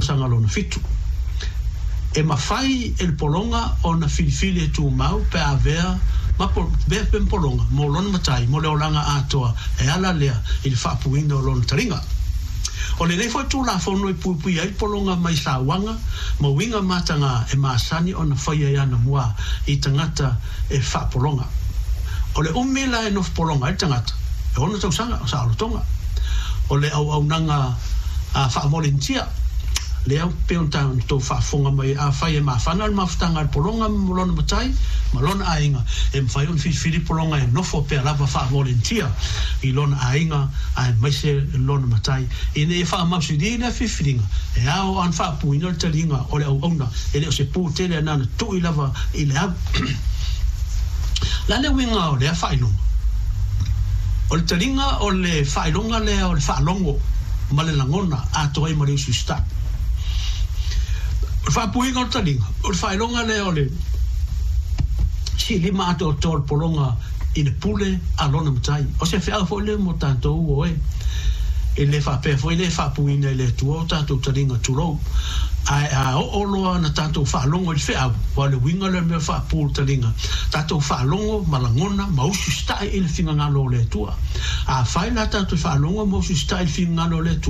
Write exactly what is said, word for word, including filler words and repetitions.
tausaga lona fitu. E mafai e le pologa ona filifili e tumau pe a avea ma avea pea ma pologa mo lona matai mo le olaga atoa e ala lea i le faapuina o lona taliga. O lenei foi Tulafono e puipuia ai le pologa mai sauaga ma uiga mataga e masani ona faia i anamua i tagata e faapologa. O le umi la e nofo pologa ai le tagata, e ono tausaga o saolotoga. O le auaunaga faavolenitia lea pei ona outou faafofoga mai, afai e mafana le mafutaga a le pologa ma lona matai ma lona aiga, e mafai ona filifili pologa e nofo pea lava faavolenitia i lona aiga aemaise lona matai. Ina ia faamausili lea filifiliga, e ao ona faapuina le taliga o le auauna, e le o se pu tele na ona tui lava i le au. O le a le uiga o lea faailoga? O le taliga o le faailoga lea o le faalogo ma le lagona atoa ai ma le usiusitai. O le faapuiga o le taliga, o le faailoga lea o le silima atoatoa o le pologa i le pule a lona matai. O se feau foi lea mo tatou o e e le faapea foi le faapuina e le Atua o tatou taliga, tulou. Ae a oo loa na tatou faalogo i le feau, aua o le uiga lea o le mea faapu le taliga, tatou faalogo ma lagona ma usiusitai i le finagalo o le Atua. Afai la tatou te faalogo ma usiusitai i le finagalo o le Atua,